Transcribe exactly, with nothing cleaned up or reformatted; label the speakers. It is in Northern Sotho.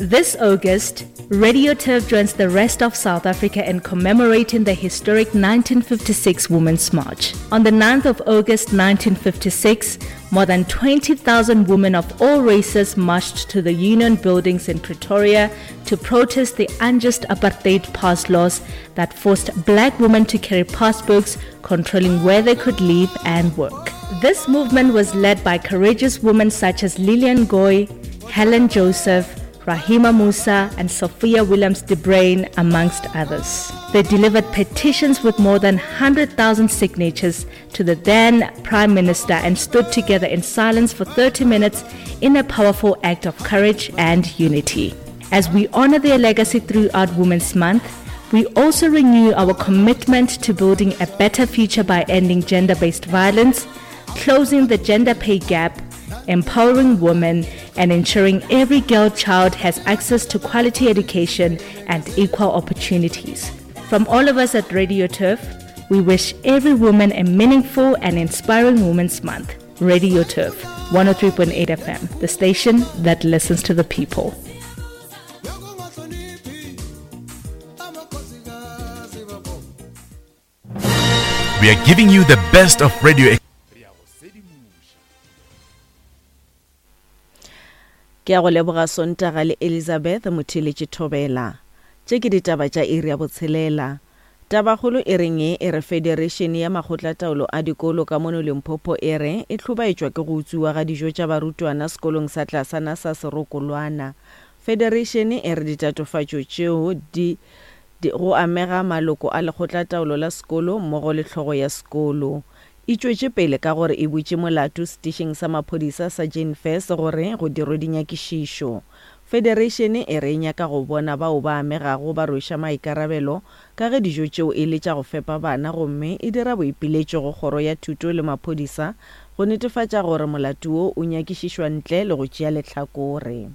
Speaker 1: This August, Radio Turf joins the rest of South Africa in commemorating the historic nineteen fifty-six Women's March. On the ninth of August nineteen fifty-six, more than twenty thousand women of all races marched to the Union Buildings in Pretoria to protest the unjust apartheid pass laws that forced black women to carry passbooks controlling where they could live and work. This movement was led by courageous women such as Lillian Goy, Helen Joseph, Rahima Moosa and Sophia Williams de Bruyn, amongst others. They delivered petitions with more than hundred thousand signatures to the then Prime Minister and stood together in silence for thirty minutes in a powerful act of courage and unity. As we honor their legacy throughout Women's Month, we also renew our commitment to building a better future by ending gender-based violence, closing the gender pay gap, empowering women, and ensuring every girl child has access to quality education and equal opportunities. From all of us at Radio Turf, we wish every woman a meaningful and inspiring Women's Month. Radio Turf, one oh three point eight F M, the station that listens to the people.
Speaker 2: We are giving you the best of radio.
Speaker 3: Ke a go leboga Sontaga le Elizabeth Motheletše Thobela. Tše ke ditaba tša iri ya botshelela. Tabakgolo e reng e re Federation ya Makgotlataolo a Dikolo ka mono Limpopo e re e hlobaetšwa ke go utswiwa ga dijo tša barutwana sekolong sa tlasana sa Serokolwana. Federation e re ditatofatšo tšeo di, di go amega maloko a lekgotlataolo la sekolo mmogo le hlogo ya sekolo. E tšwetše pele ka gore e butše molato setišing sa maphodisa sa Jane Furse gore go dirwe dinyakišišo. Federation e re e nyaka go bona bao ba amegago ba rweša maikarabelo ka ge dijo tšeo e le tša go fepa bana gomme e dira boipiletšo go kgoro ya thuto le maphodisa go netefatša gore molato wo o nyakišišwa ntle le go tšea lehlakore.